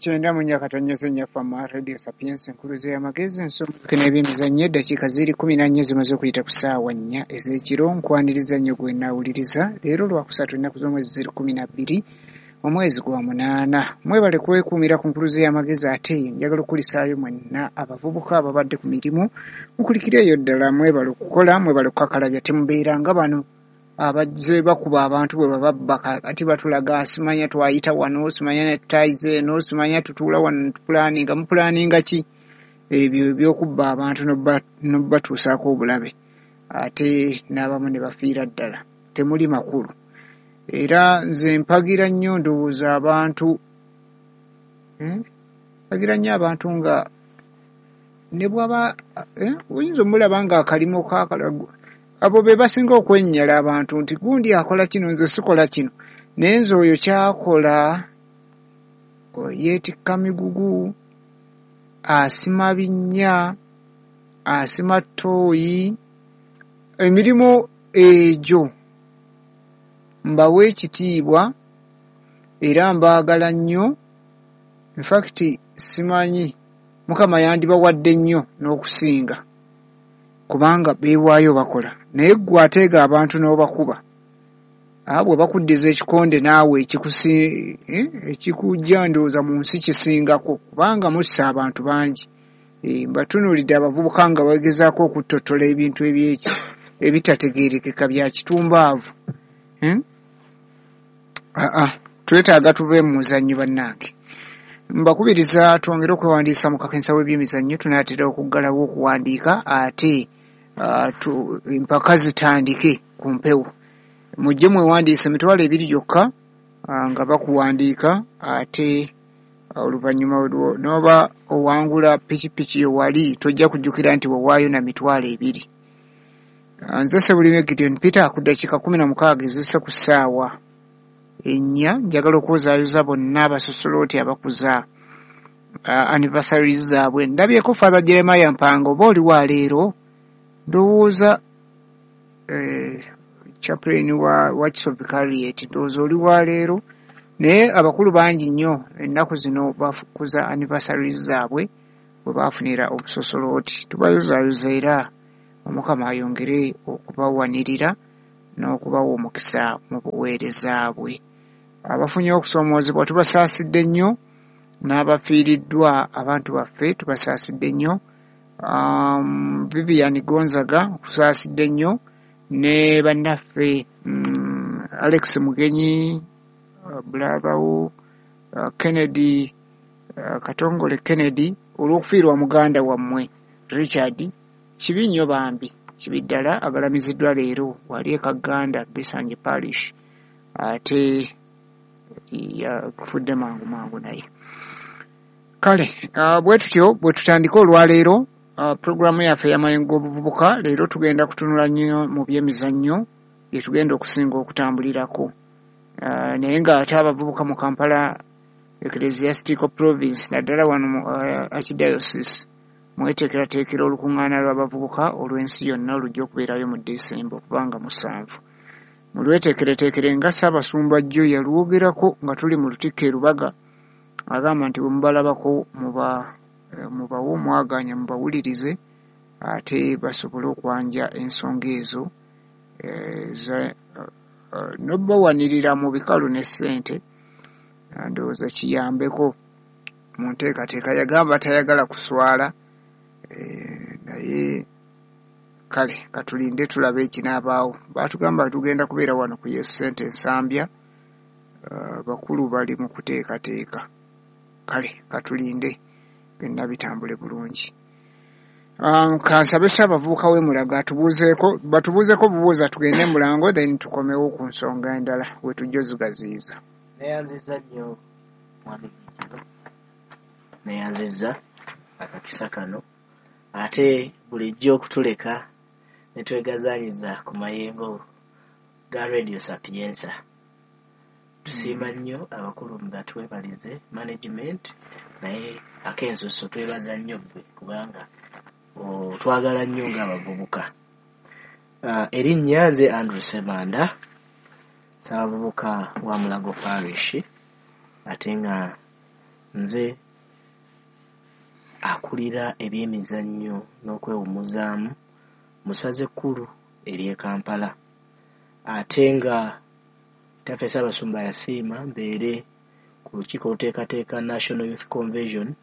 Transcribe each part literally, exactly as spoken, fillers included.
kyenda mu nnya katonyeze nnya Fama Radio Sapientia, enkuluze y'amagezi, ensonga n'ebyemizannyo. Eddakiika ziri kkumi na nnya zimaze okuyita ku ssaawa nnya ez'ekiro. Nkwaniriza nnyo gwe naawuliriza. Leero Lwakusatu, ennaku z'omwezi ziri kkumi na bbiri, omwezi gwa munaana. Mwebale kwekuumira ku nkuluze y'amagezi. Ate njagala okukulisaayo mwenna abavubuka ababadde ku mirimu, mukulikireeyo ddala. Mwebale okukola, mwebale okukakalabya. Temubeera nga bano abazze bakuba abantu bwe bababba. Kati batulaga simanya twayita wano, simanya tutayize eno, simanya tutuula wano tupulaninga. Mupulaninga ki? Ebyo ebyokubba abantu n'obatuusaako obulabe, ate n'abamu ne bafiira ddala, temuli makulu. Era nze mpagira nnyo, ndowooza abantu, mpagira nnyo abantu nga ne bwaba oyinza omulaba nga akalimo kakala, abo be basinga okwennyala abantu nti gundi akola kino, nze sikola kino. Naye nze oyo kyakola, yeetikka migugu, asima binnya, asima ttooyi, emirimu egyo mbawa ekitiibwa era mbaagala nnyo. In fact, simanyi Mukama yandibawadde nnyo n'okusinga, kubanga beewaayo bakola. Naye ggwe ateega abantu n'obakuba, bwe bakuddiza ekikonde naawe ekikujja, ndowooza mu nsi kisingako, kubanga mussa abantu bangi. Mbatunuulidde abavubuka nga bagezaako okuttottola ebintu ebyeki ebitategeerekeka bya kitumbaavu. Aa, twetaaga tuve mu muzannyo bannange. Mbakubiriza twongere okwewandiisa mu kakensa w'ebyemizannyo. Tunaatera okuggalawo okuwandiika, ate empaka zitandike ku mpewo. Mujje mwewandiise, emitwalo ebiri gyokka nga bakuwandiika, ate oluvannyuma n'oba owangula pikipiki yo, wali tojja kujjukira nti wawaayo na mitwalo ebiri. Nze Sebulime Gideon Peter. Ku ddakiika kumi na mukaaga ezisse ku ssaawa ennya, njagala okwozaayoza bonna abasosolooti abakuza anniversaries zaabwe. Ndabyeko Father Jeremiah Mpanga, oba oli wa leero, ndowooza chaplain wa Wakiso Vicariate, ndowooza oli wa leero. Naye abakulu bangi nnyo ennaku zino bakuza anniversaries zaabwe bwe baafunira obusosolooti. Tubayozaayoza era Omukama ayongere okubawanirira n'okubawa omukisa mu buweereza bwe. Abafunye okusoomoozebwa tubasaasidde nnyo, n'abafiiriddwa abantu baffe tubasaasidde nnyo. um, Vivian Gonzaga, okusaasidde nnyo, ne bannaffe um, Alex Mugenyi, uh, brother wo uh, Kennedy, uh, Katongole Kennedy, olw'okufiirwa muganda wammwe Richard. Kibi nnyo bambi, kibi ddala. Agalamiziddwa leero wali e Kaganda, Bisanje Parish, ate yakufudde mangu mangu. Naye kale, uh, bwe tutyo bwe tutandika olwaleero uh, puroguramu yaffe ey'amayengo g'obuvubuka. Leero tugenda kutunula nnyo mu byemizannyo, bye tugenda okusinga okutambulirako. uh, naye ng'ate abavubuka mu Kampala Ecclesiastical Province, naddala wano mu uh, Archdiocese, mweteekerateekera olukuŋŋaana lw'abavubuka olw'ensi yonna olujja okubeerayo mu Desemba okubanga musanvu. Mulweteekereteekere nga Ssaabasumba jjo yalwogerako nga tuli mu Lutikko e Lubaga, agamba nti bwe mubalabako muba mubawe omwaganya, mubawulirize, ate basobole okwanja ensonga ezo n'obawanirira mu bikalu ne ssente, ndowooza kiyambeko mu nteekateeka. Yagamba tayagala kuswala, naye kale katulinde tulabe ekinaabaawo. Baatugamba tugenda kubeera wano ku Yes Ssente Nsambya, bakulu bali mu kuteekateeka. Kale katulinde byonna bitambule bulungi. Kansabe Ssaabavubuka w'e Mulago atubuuzeeko, batubuuzeeko bubuuza, tugende Mulango, then tukomewo ku nsonga endala we tujja ozigaziyiza. Neyanziza nnyo mwami Kijjiro, neyanziza akakisa kano, ate bulijjo okutuleka ne twegazaanyiza ku mayengo ga Radio Sapientia. Tusiima nnyo abakulu nga twebalize management, naye ak'ensusso twebaza nnyo ggwe kubanga twagala nnyo ng'abavubuka. Uh, erinnya nze Andrew Ssemanda, Ssaabavubuka wa Mulago Parish, ate nga Nze akulira ebyemizannyo n'okwewummuzaamu mu ssaza ekkulu ery'e Kampala, ate nga kitaffe Ssaabasumba yasiima mbeere ku lukiiko oluteekateeka National Youth Convention,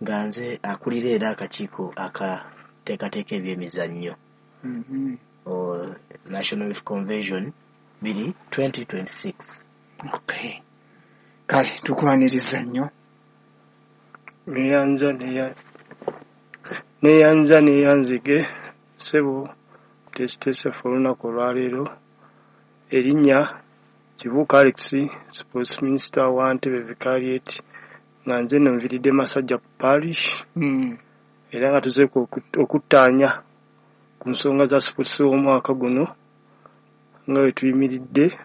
nga nze akulira era akakiiko akateekateeka ebyemizannyo. Mm-hmm. O National Youth Convention biri twenty twenty-six. Okay. Kale tukwaniriza nnyo. Neyanza neyanza neyanzige ssebo teesiteese olunaku olwaleero. Erinnya Kibuuka Alex, Sports Minister wa Ntebe Vicariate, nga nze nno nviiridde Masajja Parish. Mm. Era nga tuzeeko okuttaanya ku nsonga za sports w'omwaka guno nga bwe tuyimiridde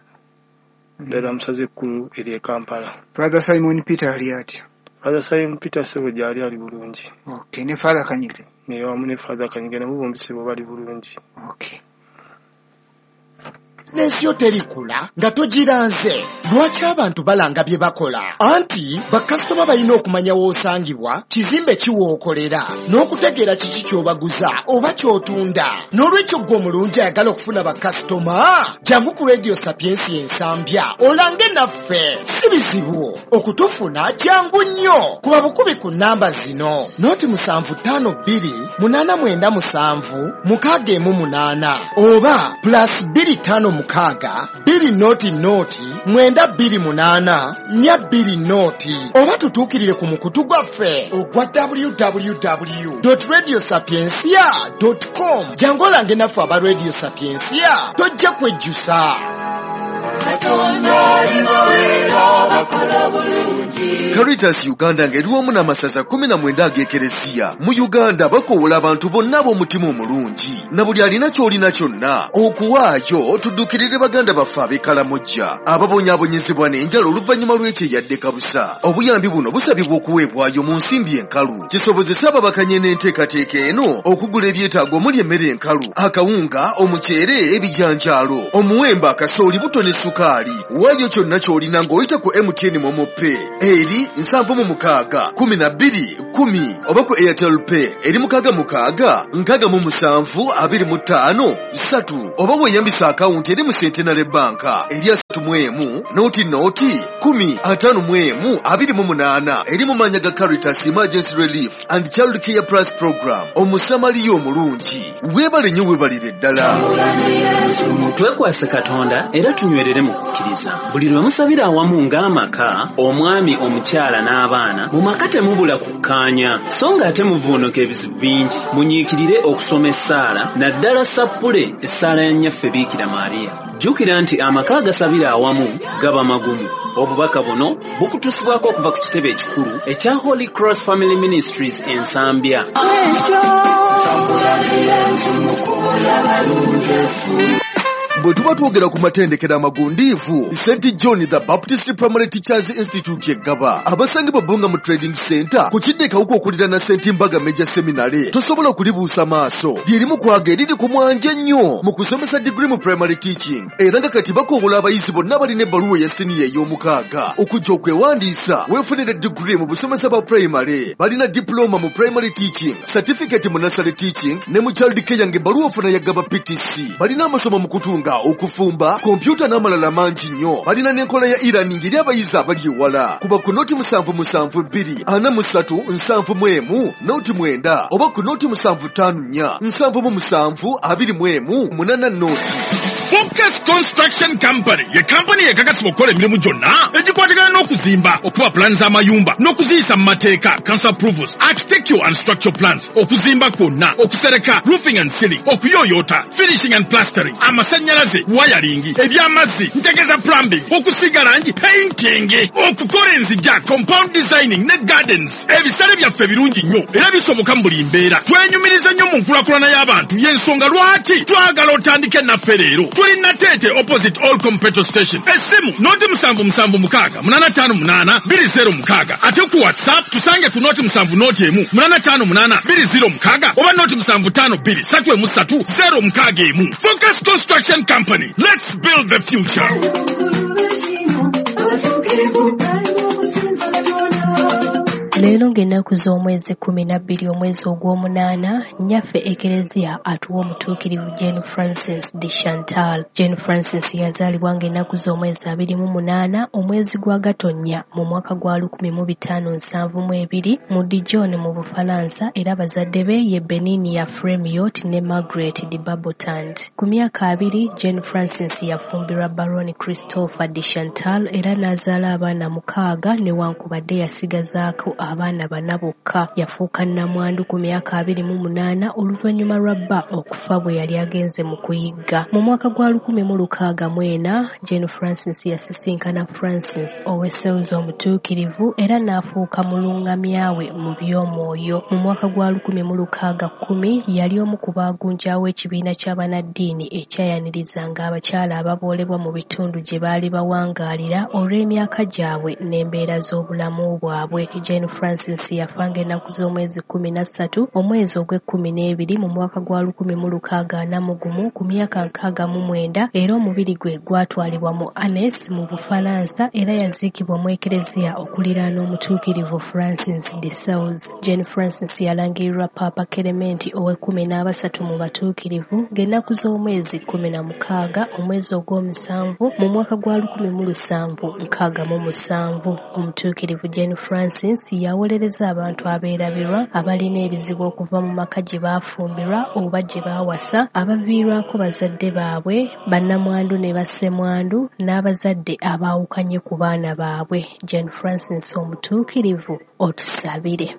ddala mu ssaza ekkulu ery'e Kampala. Father Simon Peter ali atya? Father Simon Peter ssebo gy'ali ali bulungi. Okay, ne Father Kanyike? Ne wamu ne Father Kanyike nabo bombi ssebo bali bulungi. Okay. Bizinensi yo terikula nga togiranze. Lwaki abantu balanga bye bakola? Anti bakasitoma balina okumanya w'osangibwa, kizimbe ki w'okolera, n'okutegeera kiki ky'obaguza oba ky'otunda. N'olwekyo ggwe omulungi ayagala okufuna bakasitoma, jangu ku Radio Sapiensia Ensambya olange naffe. Si bizibu okutufuna, jangu nnyo. Kuba bukubi ku nnamba zino: noti musanvu ttaano bbiri munaana mwenda musanvu mukaaga emu munaana oba plus bbiri ttaano mukaaga bbiri noti noti mwenda bbiri munaana nnya bbiri noti, oba tutuukirire ku mukutu gwaffe ogwa w w w dot radio sapiensia dot com. Jangu olange naffe aba Radio Sapiensia, tojja kwejjusa. Caritas Uganda ng'eri wamu n'amasaza kkumi na mwenda ag'Ekereziya mu Uganda bakoowola abantu bonna ab'omutima omulungi na buli alina ky'olina kyonna okuwaayo tuddukirire baganda baffe ab'e Kalamojja ababonyaabonyezebwa n'enjala oluvannyuma lw'ekyeyadde kabusa. Obuyambi buno busabibwa okuweebwayo mu nsimbi enkalu kisobozese ababakanye n'enteekateeka eno okugula ebyetaago omuli emmere enkalu, akawunga, omuceere, ebijanjaalo, omuwemba, akasooli, buto ne sukaali. Waayo kyonna ky'olina ng'oyita ku M T N Momo Pay eri nsanvu mu mukaaga kumi na bbiri kumi oba ku Airtel Pay eri mukaaga mukaaga nkaaga mu musanvu abiri mu ttaano ssatu oba weeyambisa akawunti eri mu Centenary Bank eri asatu mu emu noti noti kumi ataano mu emu abiri mu munaana eri mu maannya ga Caritas Emergency Relief and Child Care Plus Program. Omusamaliya omulungi weebale nnyo, weebalire ddala. Twekwase Katonda era tunywerere mu kukkiriza. Buli lwe musabira awamu ng'amaka, omwami, omukyala n'abaana, mu maka temubula kukkaanya, so ng'ate muvuunuka ebizibu bingi. Munyiikirire okusoma essaala, naddala sappule essaala ya Nnyaffe Biikira Maria. Jjukira nti amaka agasabira awamu gaba magumu. Obubaka buno bukutuusibwako okuva ku kitebe ekikulu ekya Holy Cross Family Ministries Ensambya. Bwe tuba twogera ku matendekero amagundiivu, Saint John the Baptist Primary Teachers Institute Eggaba, abasangibwa Bbunga mu Trading Center ku kidde Kawuka okuliraana Saint Mbaga Major Seminary, tosobola kulibuusa maaso. Lyerimu kwaga eriri ku mwanje ennyo mu kusomesa degree mu primary teaching, era nga kati bakoowola abayizi bonna abalina ebbaluwa eya siniya ey'omukaaga okujja okwewandiisa weefunire degree mu busomesa bwa primary. Balina diploma mu primary teaching, certificate mu nursery teaching ne mu child care ng'ebbaluwa ofuna ya Gaba P T C. Balina amasomo mu kutunga, okufumba, kompyuta n'amalala mangi nnyo. Balina n'enkola ya e-learning eri abayizi abali ewala. Kuba ku noti musanvu musanvu bbiri ana mu ssatu nsanvu mu emu noti mwenda oba ku noti musanvu ttaano nnya nsanvu mu musanvu abiri mu emu munaana noti. Focus Construction Company ye kampani ekakasibwa okukola emirimu gyonna egikwatagana n'okuzimba, okuba pulaani z'amayumba n'okuziyisa mu mateeka, council approvals, architectural and structural plans, okuzimba kwonna, okusereka, roofing and ceiling, okuyooyoota, finishing and plastering, amasannyalaze, wiring, eby'amazzi, ntegeeza plumbing, okusiiga langi, painting, okukola enzigya, compound designing ne gardens. Ebisale byaffe birungi nnyo era bisoboka mu buli mbeera. Twenyumiriza nnyo mu nkulaakulana y'abantu, y'ensonga lwaki twagala otandike naffe leero. Tuli Nateete opposite All Petrol Station. Essimu noti musanvu musanvu mukaaga munaana ttaano munaana bbiri zero mukaaga. Ate ku WhatsApp tusange ku noti musanvu noti emu munaana ttaano munaana bbiri zero mukaaga oba noti musanvu ttaano bbiri ssatu emu ssatu zero mukaaga emu. Focus Construction Company. Let's build the future. Leero ng'ennaku z'omwezi kkumi na bbiri omwezi ogw'omunaana, nnyaffe Ekereziya atuwa omutuukirivu Jane Frances de Chantal. Jane Frances yazaalibwa ng'ennaku z'omwezi abiri mu munaana omwezi gwa Gatonnya mu mwaka gwa lukumi mu bitaano nsanvu mu ebiri mu Dijon mu Bufalansa, era bazadde be ye Beninia Fremiot ne Margaret de Barbotant. Ku myaka abiri, Jane Frances yafumbirwa Baron Christopher de Chantal era n'azaala abaana mukaaga newankubadde yasigazaako abaana bana bokka. Yafuuka nnamwandu ku myaka abiri mu munaana oluvannyuma lwa bba okufa bwe yali agenze mu kuyigga. Mu mwaka gwa lukumi mu lukaaga mu ena, Jane Frances yasisinkana Francis ow'Esewuzi omutuukirivu era n'afuuka mulungamya we mu by'omwoyo. Mu mwaka gwa lukumi mu lukaaga kkumi yali omu ku baagunjaawo ekibiina ky'abannaddiini ekyayanirizanga abakyala ababoolebwa mu bitundu gye baali bawangaalira olw'emyaka gyabwe n'embeera z'obulamu bwabwe. Jane Francis yafa ng'ennaku z'omwezi kkumi na ssatu omwezi ogw'ekkumi n'ebiri mu mwaka gwa lukumi mu lukaaga ana mu gumu ku myaka nkaaga mu mwenda, era omubiri gwe gwatwalibwa mu Annecy mu Bufalansa era yaziikibwa mu Ekereziya okuliraana omutuukirivu Francis de Sales. Jane Francis yalangirirwa Paapa Kelementi ow'ekkumi n'abasatu mu batuukirivu ng'ennaku z'omwezi kkumi na mukaaga omwezi ogw'omusanvu mu mwaka gwa lukumi mu lusanvu nkaaga mu musanvu. Omutuukirivu Jane Francis yawolereza abantu abeerabirwa, abalina ebizibu okuva mu maka gye baafumbirwa oba gye baawasa, abaviirwako bazadde baabwe, bannamwandu ne bassemwandu, n'abazadde abaawukanye ku baana baabwe. Jane Francis omutuukirivu, otusabire.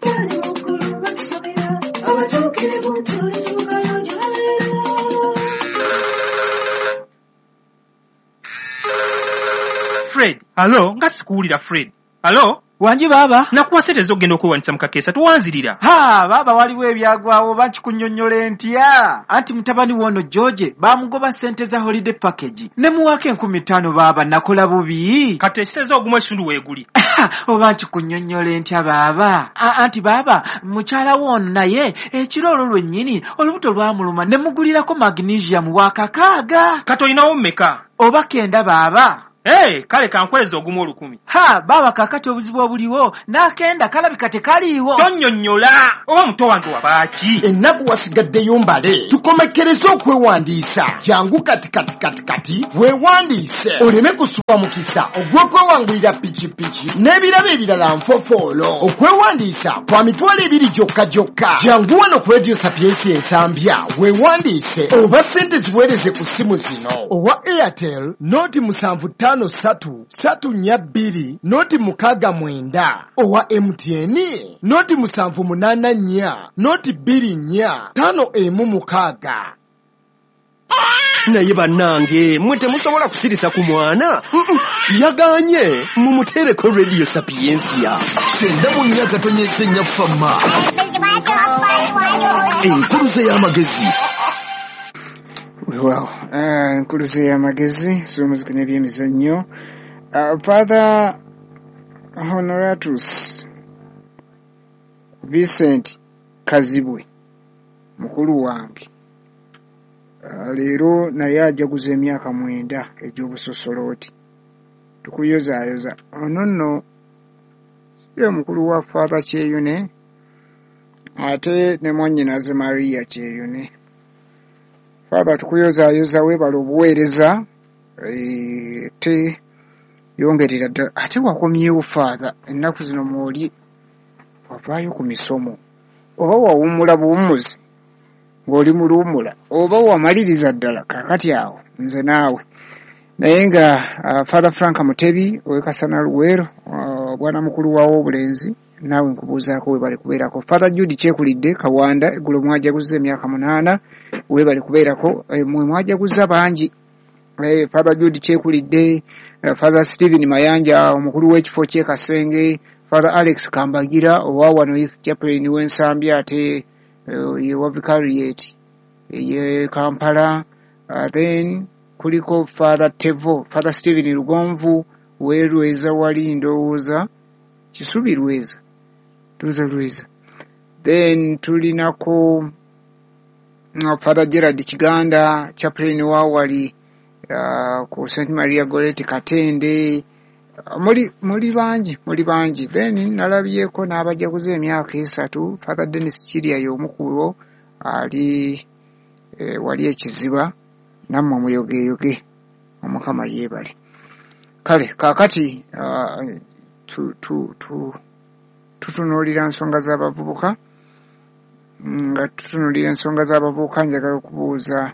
Fred, alo, nga sikuwulira Fred. Alo? Wangi baaba? Nakuwa ssente ez'okugenda okwewandiisa mu kakeesa, towanzirira. Ha, baaba waliwo ebyagwawo oba nkikunnyonnyola ntya? Anti mutabani w'ono George baamugoba ssente za holiday package. Ne muwaako enkumi ttaano baaba, nakola bubi. Kati ekitegeeza ogumu ekitundu weeguli. Oba nkikunnyonnyola ntya baaba? Anti baaba, mukyala w'ono naye ekiro olwo lwennyini olubuto lwamuluma ne mugulirako magnesium wa kakaaga. Kati olinawo mmeka? Oba kenda baaba. Hey, kale kankweza ogumu olukumi. Ha, baaba kaakati obuzibu obuliwo n'akenda kalabika tekaliiwo. Tonnyonnyola oba muto wange wabaaki? Ennaku wasigaddeyo mbale, tukomekkereze okwewandiisa. Jangu kati kati kati kati weewandiise oleme kusubwa mukisa ogw'okwewangulira pikipiki n'ebirabo ebirala nfofoolo. Okwewandiisa kwa mitwalo ebiri gyokka gyokka. Jangu wano ku Radio Sapientia Ensambya weewandiise oba ssente ziweereze ku ssimu zino: owa Airtel noti musanvu ttaano ssatu ssatu nnya bbiri noti mukaaga mwenda, owa M T N noti musanvu munaana nnya noti bbiri nnya ttaano emu mukaaga. Naye bannange mwe temusobola kusirisa ku mwana. Yaganye mumuteereko Radio Sapientia. Kyenda mu nnya katonyeze nnya fama. Enkuluze y'amagezi. Weewaawo, enkuluze y'amagezi z'omuziki n'ebyemizannyo. Father Honoratus Vincent Kazibwe mukulu wange leero naye ajaguza emyaka mwenda egy'obusosolooti. Tukuyozaayoza. Ono nno ye mukulu wa Father Kyeyune ate ne mwannyinaze Maria Kyeyune. Father tukuyozaayoza, weebale obuweereza, te yongerera ddala. Ate wakomyewo Father, ennaku zino mw'oli wavaayo ku misomo, oba wawummula buwummuzi ng'oli mu luwummula, oba wamaliriza ddala kaakati awo nze naawe. Naye nga uh, Father Frank Mutebi ow'e Kasana Luweero, uh, bwana mukulu wawo obulenzi, naawe nkubuuzaako weebale kubeerako. Father Jude Kyekulidde Kawanda, eggulo mwajaguza emyaka munaana, weebale kubeerako. E, mwe mwajaguza bangi. E, Father Jude Kyekulidde, uh, Father Stephen Mayanja omukulu w'ekifo ky'e Kasenge, Father Alex Kambagira owa wano Youth Chaplain w'Ensambya ate uh, ye wa Vicariate ye Kampala. Uh, then kuliko Father Tevo, Father Stephen Lugonvu werweza wali ndowooza Kisubi Lweza, tuza Lweza. Then tulinako uh, Father Gerard Kiganda, chaplain wa wali uh, ku Saint Maria Goretti Katende. Muli muli bangi, muli bangi. Then nalabyeko n'abajaguza emyaka esatu. Father Dennis Kirya y'omu ku bo, ali eh, wali ekiziba, nammwe muyogeyoge, Omukama yeebale. Kale kaakati uh, tu, tu, tu, tutunuulira nsonga z'abavubuka. Nga tutunuulira ensonga z'abavubuka, njagala okubuuza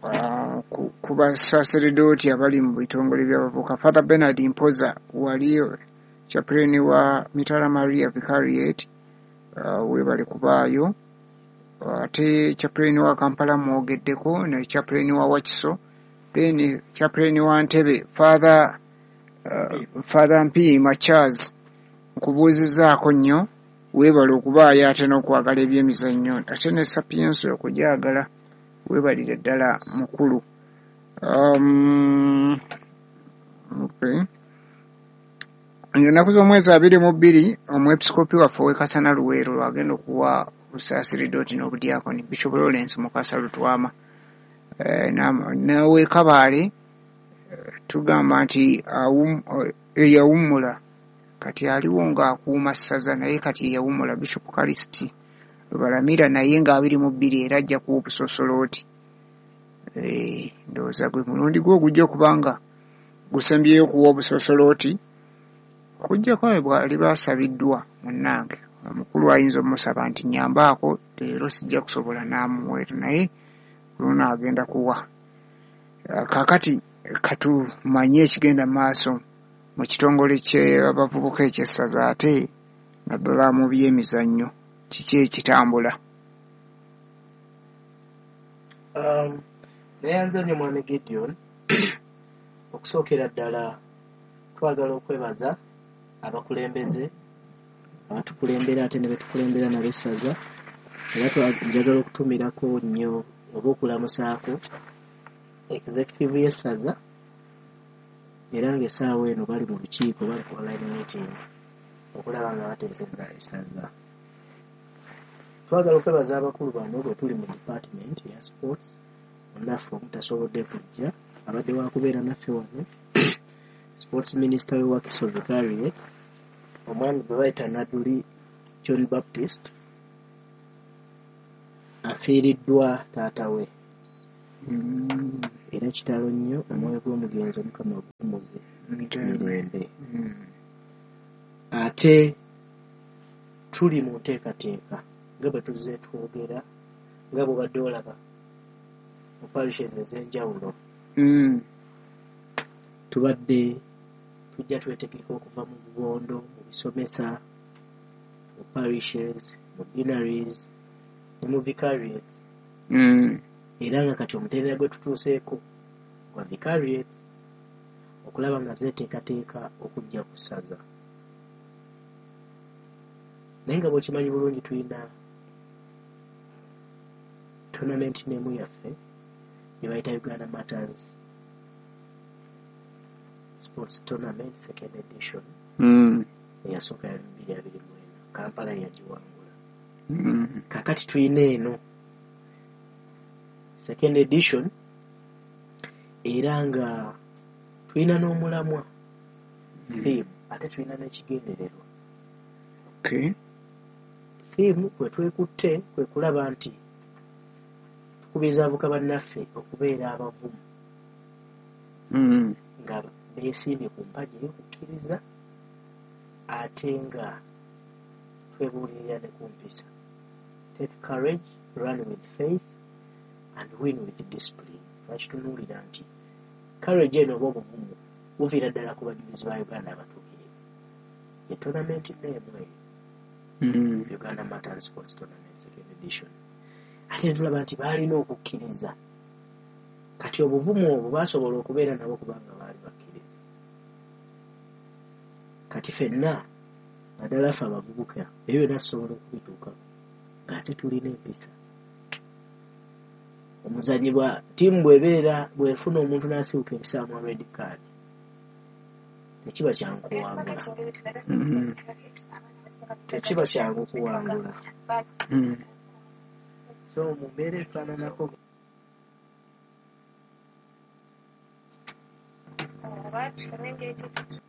uh, ku, ku basaseredooti abali mu bitongole by'abavubuka. Father Bernard Mpoza wali chaplain wa Mitala Maria Vicariate, uh, weebale kubaayo. Ate chaplain wa Kampala mwogeddeko, ne chaplain wa Wakiso, then chaplain wa Ntebe Father uh, Father Mpiima Charles, nkubuuzizzaako nnyo, weebale okubaayo ate n'okwagala ebyemizannyo, ate ne Sapientia okugyagala, weebalire ddala mukulu. Um, okay. Ennaku z'omwezi abiri mu bbiri omwepiskopi waffe ow'e Kasana Luweero lwagenda okuwa obusaasiridooti n'obudyakoni Bishop Lawrence Mukasa Lutwama. Eh, n'ow'e Kabaale eh, tugamba nti eyawummula kati aliwo ng'akuuma ssaza, naye kati eyawummula Bishop Kalisiti Balamira, naye ng'abiri mu bbiri era ajja kuwa obusosolooti. Eh, ndowooza gwe mulundi gwe ogujja okubanga gusembyeyo okuwa obusosolooti, okuggyako bwali basabiddwa munnange omukulu ayinza omusaba nti nyambaako leero sijja kusobola n'amuweera, naye luno agenda kuwa. Kaakati katumanye ekigenda mu maaso mu kitongole ky'abavubuka eky'essaza, ate naddala mu byemizannyo, kiki ekitambula? Um, neyanza nnyo Mwami Gideon. Okusookera ddala twagala okwebaza abakulembeze abatukulembera ate ne betukulembera n'abessaza, era njagala okutumirako nnyo oba okulamusaako executive y'essaza, era ng'essaawa eno bali mu lukiiko, bali ku online meeting okulaba nga bateeseza essaza. Twagala okwebaza abakulu bano bwe tuli mu department ya sports, munnaffe omutasobodde kujja abadde wakubeera naffe wano, sports minister we Wakiso Vicariate, omwami gwe bayita Naduli John Baptist, afiiriddwa taata we. Mm. Era kitalo nnyo, omwoyo gw'omugenzi Omukama aguwummuze mirembe. Mm. Ate tuli mu nteekateeka nga bwe tuzze twogera, nga bw'obadde olaba mu parishes ez'enjawulo. Mm. Tubadde tujja twetegeka okuva mu bubondo, mu bisomesa, mu parishes, mu deaneries ne mu vicariates. Mm. Era nga kati omutendera gwe tutuuseeko gwa vicariates okulaba nga zeeteekateeka okujja ku ssaza. Naye nga bw'okimanyi bulungi tulina tournament nemu yaffe gye bayita Uganda Matters Sports Tournament second edition. Mm. Eyasooka yali bbiri abiri mu ena, Kampala yagiwangula. Mm. Kaakati tulina eno second edition, era nga tulina n'omulamwa theme, ate tulina n'ekigendererwa. Okay. Theme kwe twekutte kwe kulaba nti tukubiriza abavubuka bannaffe okubeera abavumu Mm. nga beesimbye ku mpagi ey'okukkiriza, ate nga twebuulirira ne ku mpisa. Take courage, run with faith and win with discipline. Twakitunuulira nti courage eno oba obuvumu buviira ddala ku bajulizi ba Uganda abatuukirivu. Ye tournament name eyo, Mm. Uganda Matters Sports Tournament second edition. Ate tulaba nti baalina okukkiriza. Kati obuvumu obwo baasobola okubeera nabo kubanga baali bakkiriza. Kati ffenna naddala ffe abavubuka ebyo byonna tusobola okubituukako ng'ate tulina empisa. Omuzannyi bwa ttiimu bw'ebeera bw'efuna omuntu n'asibuka empisa amuwa red card, tekiba kyangu kuwangula. Mm. Tekiba kyangu kuwangula. Mm. So mu mbeera efaananako Oba tufune engeri gye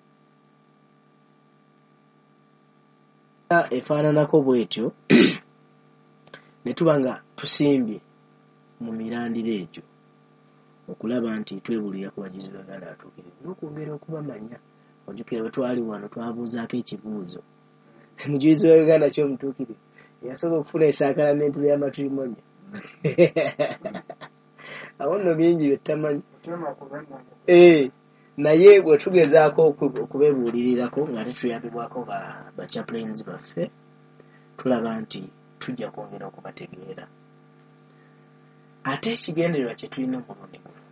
Efaananako bwetyo ne tuba nga tusimbye mu mirandira egyo okulaba nti twebuulira ku bajulizi ba Uganda abatuukirivu n'okwongera okubamanya. Ojjukira bwe twali wano twabuuzaako ekibuuzo, omujulizi wa Uganda ki omutuukirivu eyasooka okufuna esaakalamentu lya matrimony? Awo nno bingi bye tutamanyi. Eh, naye bwe tugezaako okubeebuulirirako nga tetuyambibwako ba chaplains baffe, tulaba nti tujja kwongera okubategeera. Ate ekigendererwa kye tulina omulundi guno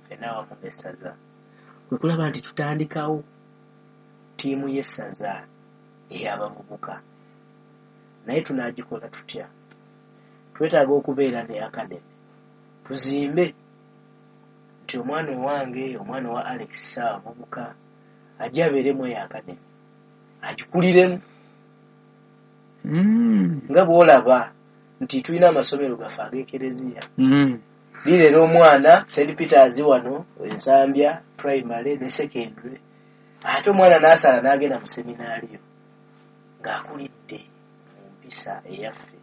ffenna awamu n'essaza kwe kulaba nti tutandikawo ttiimu y'essaza ey'abavubuka. Naye tunaagikola tutya? Twetaaga okubeera ne academy, tuzimbe nti omwana owange, omwana wa Alex Ssaabavubuka ajje abeeremu eyo academy, agikuliremu. Nga bw'olaba nti tulina amasomero gaffe ag'ekereziya, lireera omwana Saint Peters wano Ensambya primary ne secondary, ate omwana n'asala n'agenda mu seminaariyo ng'akulidde mu mpisa eyaffe.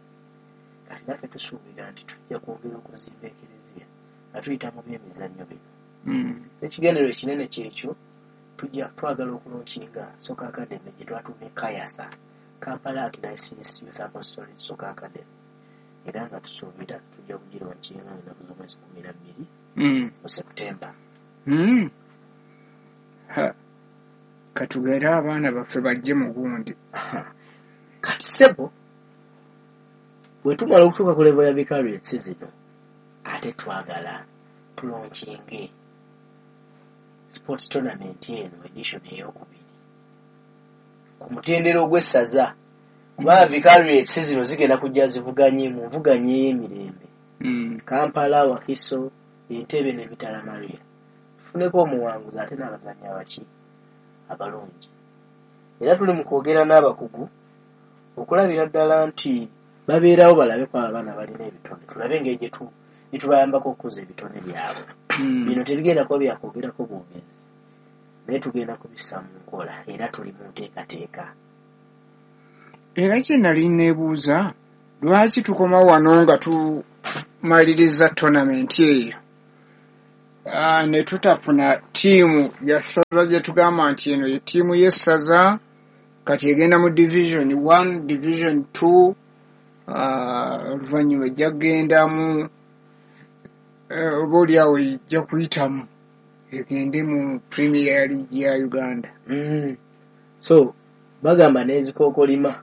Kati naffe tusuubira nti tujja kwongera okuzimba ekereziya nga tuyita mu byemizannyo bino. Ekigendererwa ekinene kyekyo, tujja twagala okulonkinga Soccer Academy gye twatuumye Kayasa, Kampala Archdiocese Youth Apostolic Soccer Academy, era nga tusuubira tujja kugironkinga ennaku z'omwezi kkumi na bbiri mu September. Katugere abaana baffe bajje mu gundi. Kati ssebo, bwe tumala okutuuka ku level ya vicariates zino, ate twagala tulonkinge sports tournament eno edition ey'okubiri ku mutendera ogw'essaza, kubanga vicariates zino zigenda kujja zivuganye mu nvuganya ey'emirembe, Kampala, Wakiso, Entebbe ne Mitala Maria. Tufuneko omuwanguzi ate n'abazannyi abaki abalungi. Era tuli mu kwogera n'abakugu okulabira ddala nti babeerawo balabe ku abaana balina ebitone, tulabe engeri gye tubayambako okukuza ebitone byabwe. Bino tebigenda kuba byakwogerako bwogezi, naye tugenda kubissa mu nkola era tuli mu nteekateeka. Era kye nali neebuuza, lwaki tukoma wano nga tumaliriza tournament eyo ne tutafuna ttiimu ya ssaza gye tugamba nti eno ye ttiimu y'essaza, kati egenda mu division one, division two, oluvannyuma ejja kugendamu oba oliawo ejja kuyitamu egende mu Premier League ya Uganda. So bagamba n'ezikookolima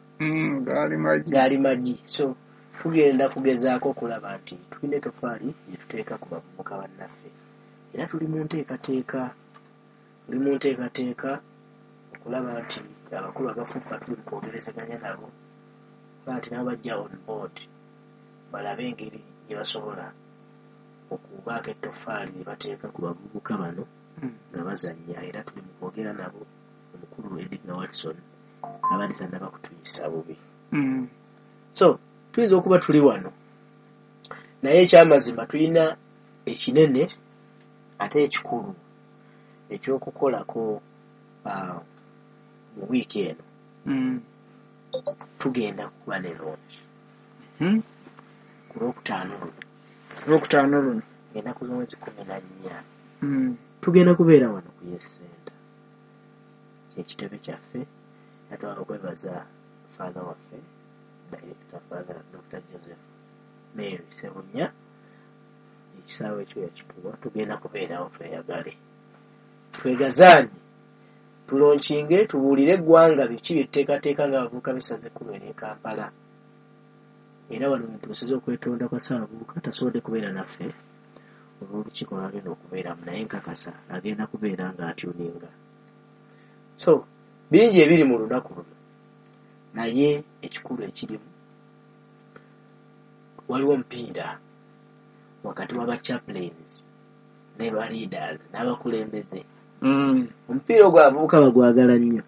gaali magi, gaali magi. So tugenda kugezaako okulaba nti tulina ettofaali gye tuteeka ku bavubuka bannaffe, era tuli mu nteekateeka, tuli mu nteekateeka okulaba nti abakulu abafufa tuli mu kwogerezeganya nabo, okulaba nti nabo bajja on board balabe engeri gye basobola okubaako ettofaali lye bateeka ku bavubuka bano nga bazannya. Era tuli mu kwogera nabo, omukulu Edgar Watson abadde tannaba kutuyisa bubi. So tuyinza okuba tuli wano, naye ekyamazima tulina ekinene ate ekikulu ekyokukolako mu wiiki eno. Tugenda kuba ne launch ku lwokutaano luno, lwokutaano luno ennaku z'omwezi kkumi na nnya tugenda kubeera wano ku Yes Center, kyekitebe kyaffe. Era twagala okwebaza father waffe Director Father Doctor Joseph Mary Ssebunya, ekisaawe ekyo yakituwa. Tugenda kubeerawo tweyagale, twegazaanye, tulonkinge, tubuulire eggwanga biki bye tuteekateeka ng'abavubuka b'essaza ekkulu ery'e Kampala. Era wano ntuusiza okwetonda kwa Ssaabavubuka tasobodde kubeera naffe olw'olukiiko lw'agenda okubeeramu, naye nkakasa agenda kubeera ng'atyuninga. So bingi ebiri mu lunaku luno, naye ekikulu ekirimu waliwo omupiira wakati w'aba chaplains ne ba leaders n'abakulembeze. Omupiira ogwo abavubuka bagwagala nnyo.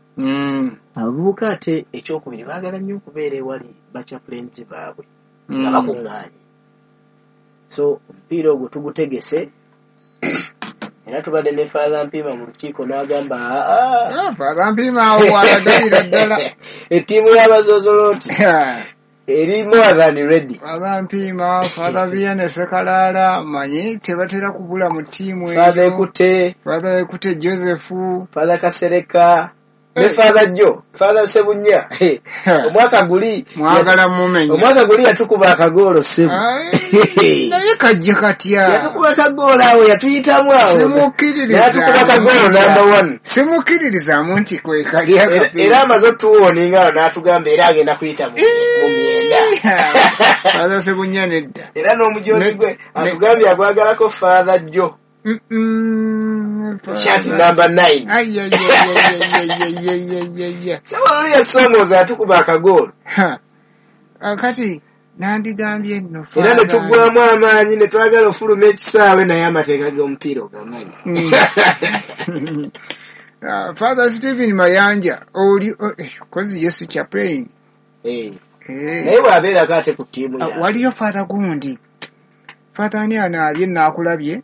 Abavubuka ate ekyokubiri baagala nnyo okubeera ewali ba chaplains baabwe nga bakuŋŋaanye. So omupiira ogwo tugutegese Era tubadde ne Father Mpiima mu lukiiko n'agamba aa Father Mpiima awo walagalira ddala ettiimu y'abasosoloti eri more than ready. Father Mpiima, Father Vianney Sekalaala, manyi tebatera kubula mu ttiimu eyo. Father Ekute, Father Ekute Joseph, Father Kasereka ne Father Joe, Father Sebunya. Omwaka guli mwagala mumenya. Omwaka guli yatukuba akagoolo Sebu. Naye kajje katya. Yatukuba akagoolo awo yatuyitamu awo. Simukkiririza. Yatukuba akagoolo number one. Simukkiririzaamu nti kwe kali akapiira. Era amaze otuwoninga awo n'atugamba era agenda kuyita mu myenda. Father Sebunya nedda. Era n'omujoozi gwe atugambye agwagalako Father Joe. Shot number nine. Ay, ay, ay, ay, ay, ay, ay, ay, ay. Sawa yasomooza atukuba akagoolo. Kati nandigambye nno era ne tuggwamu amaanyi ne twagala ofuluma ekisaawe naye amateeka g'omupiira ogamanyi. Father Stephen Mayanja oli kozi Yesu chaplain. Eh. Naye bw'abeerako ate ku ttiimu yaabwe. Waliyo Father gundi. Father ani anaabye naakulabye?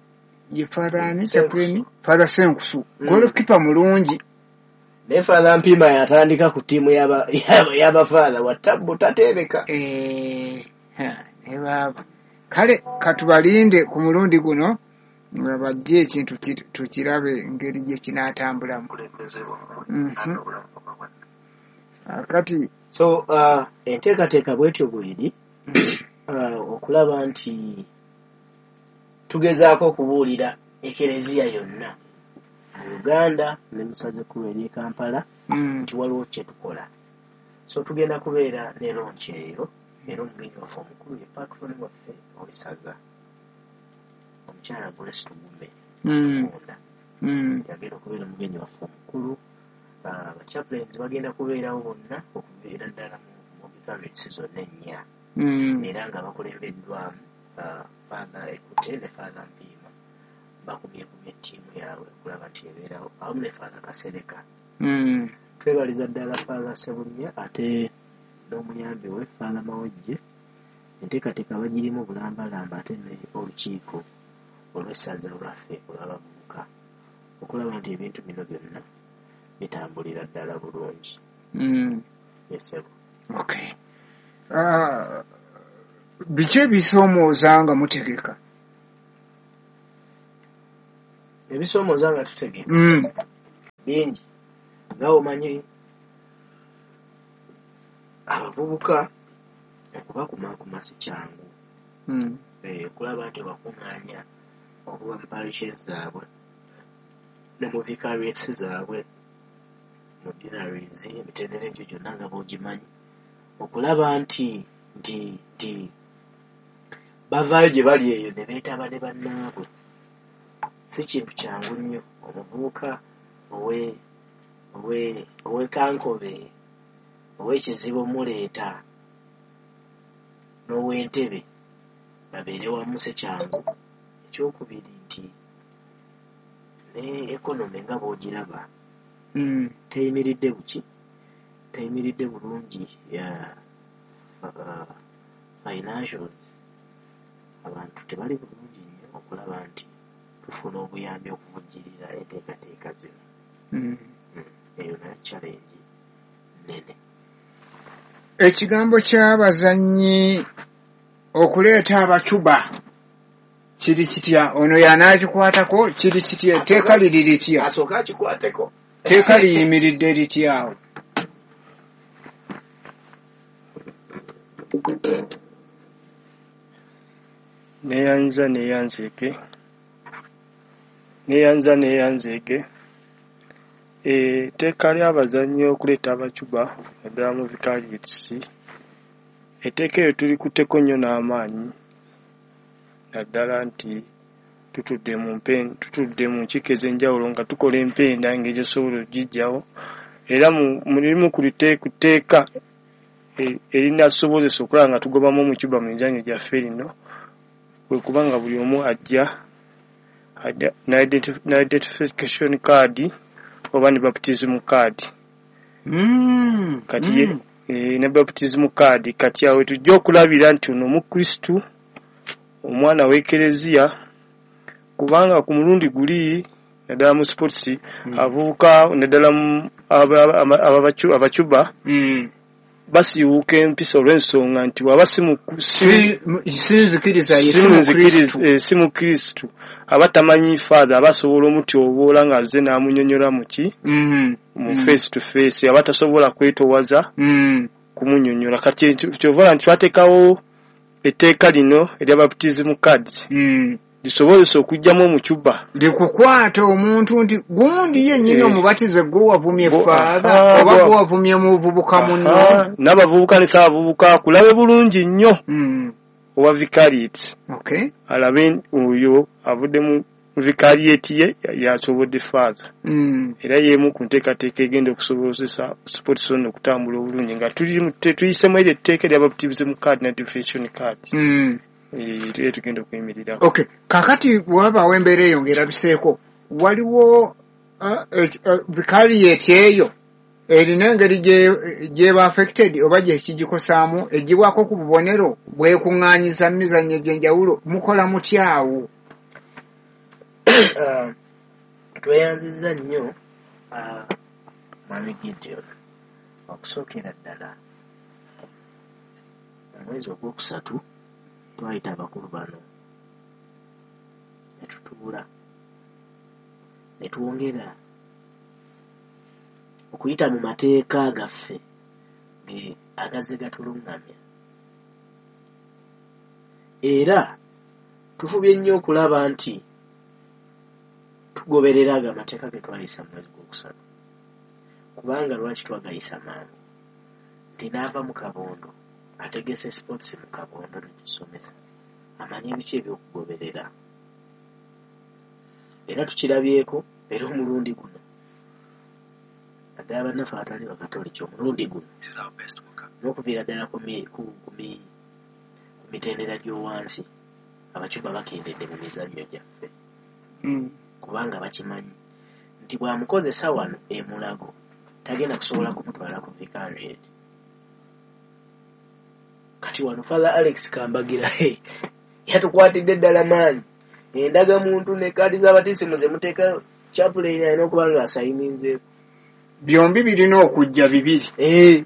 Ye Father ani chaplain? Father Senkusu. Mm. Goalkeeper mulungi. Ne Father Mpiima yatandika ku ttiimu y'aba y'abafaatha wa tabbu tateebeka. Eh, ha, ne baaba. Kale katubalinde ku mulundi guno nga bajje ekintu tukirabe engeri gye kinaatambulamu. Mm-hmm. Kati so uh, enteekateeka bw'etyo bw'eri uh, okulaba nti tugezaako okubuulira ekereziya yonna mu Uganda ne musaze ekkulu ery'e Kampala nti waliwo kye tukola. So tugenda kubeera ne launch eyo era omugenyi waffe omukulu ye patron waffe ow'essaza omukyala Grace Tugume Tukunda yagenda okubeera omugenyi waffe omukulu. Abachaplains bagenda kubeerawo bonna okubeera ddala mu vicariates zonna ennya era nga bakulembeddwamu Father Ekute ne Father Mpiima bakumyekumye ettiimu yaabwe okulaba nti ebeerawo awamu ne Father Kasereka. Twebaliza ddala Father Sebunya ate n'omuyambi we Father Mawejje. Enteekateeka bagirimu bulambalamba ate ne olukiiko olw'essaza lwaffe olw'abavubuka okulaba nti ebintu bino byonna bitambulira ddala bulungi. Yes, okay. Uh, biki ebisoomooza nga mutegeka? Ebisoomooza nga tutegeka mm. bingi. Nga omanyi abavubuka okubakumaakuma si kyangu. Mm. E, okulaba nti bakuŋŋaanya okuba mu parishes zaabwe ne mu vicariates zaabwe mu dinaries emitendera egyo gyonna nga bw'ogimanyi okulaba nti nti nti bavaayo gye bali eyo ne beetaba ne bannaabwe. Si kintu kyangu nnyo omuvubuka owe owe ow'e Kankobe ow'ekizibu omuleeta n'ow'Entebe babeere wamu si kyangu. Ekyokubiri nti ne economy nga bw'ogiraba mm. teyimiridde buki teyimiridde bulungi ya uh, financials abantu tebali bulungi nnyo okulaba nti tufuna obuyambi okuvujjirira enteekateeka zino. Mm. Eyo nayo challenge nnene. Ekigambo ky'abazannyi okuleeta abacuba kiri kitya? Ono y'anaakikwatako kiri kitya? Etteeka liri litya? Asooka akikwateko. Etteeka liyimiridde litya awo? Neeyanza neeyanzeege neeyanza neeyanzeege etteeka ly'abazannyi okuleeta abacuba naddala mu vicariates etteeka eryo tulikutteko nnyo n'amaanyi naddala nti tutudde mu mpe tutudde mu nkiiko ez'enjawulo nga tukola empenda engeri gyesobola okugiggyawo era mu limu ku tteeka erinasobozesa okulaba nga tugobamu omucuba mu mizannyo gyaffe lino kwe kuba nga buli omu ajja na identification card oba ne baptism card. Mm, kati mm. E, ne baptism card kati awo tujja okulabira nti ono Omukristu omwana w'Ekereziya kubanga ku mulundi guli Naddala mu sports, abavubuka, naddala mu aba- aba- ababacu- abacuba Mm. basiiwuuka empisa olw'ensonga nti waba si mu- si Si- sinzikiriza ye si si munzikiriza- mukristu. eh, si mukristu, aba tamanyi father, aba asobola omutyoboola ng'azze n'amunyonnyola muki Mm. mu Mm. face to face, aba tasobola kwetowaza Mm. kumunyonnyola. Kati kyova nti twateekawo etteeka lino erya baptism cards Mm. lisobozesa okuggyamu omucuba likukwata omuntu nti gundi yennyini Eh. omubatize gwe wavumye Bo- father aha, oba gwe- gwe wavumye muvubuka munno. Aha, n'abavubuka ne saabavubuka akulabe bulungi nnyo Mm. owa vicariate, Okay. alabe oyo avudde mu vicariate ye yasobodde father. Mm. Era y'emu ku nteekateeka egenda okusobozesa sports zone okutambula obulungi nga tuli mu- te- tuyisemu eryo etteeka erya baptism card ne identification card. Mm. Eh, era tugenda okuyimirirako. Okay, kakati bwewabaawo embeera eyo ng'erabiseeko, waliwo uh, uh, vicariate eyo erina engeri gye- gyeba affected oba gye kigikosaamu, egibwako ku bubonero bwekuŋŋaanyiza mu mizannyo egy'enjawulo? Mukola mutyawo? Ah, tweyanzizza nnyo, ah, mwami Gideon. Okusookera ddala, omwezi ogwokusatu twayita abakulu bano ne tutuula ne twongera okuyita mu mateeka gaffe ge agazze gatuluŋŋamya, era tufubye nnyo okulaba nti tugoberera ago amateeka ge twayisa mu mwezi gwokusatu. Kubanga lwaki twagayisa mangu? Nti n'ava mu kabondo ategese sports mu kabondo netusomesa amanye biki ebyokugoberera, era tukirabyeko. Era omulundi guno, naddala bannaffe abatali bakatoliki, omulundi guno n'okuviira ddala ku mi- ku- ku mi- ku mitendera gy'owansi, abacuba bakendedde mu mizannyo gyaffe, Mm. kubanga bakimanyi nti bw'amukozesa wano e Mulago tagenda kusobola kumutwala ku vicariate. Kati wano Father Alex Kambagira he, yatukwatidde ddala maanyi endagamuntu ne kaadi z'abatisimu ze muteeka, chaplain alina okuba nga asayininzeeko. Byombi birina okujja bibiri. Eh,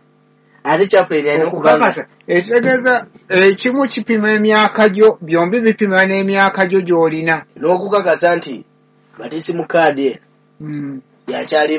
ate chaplain alina okuba nga okukakasa ekitegeeza ekimu kipima emyaka gyo, byombi bipima n'emyaka gyo gy'olina n'okukakasa nti batisimu kaadi eno Mm. yakyali.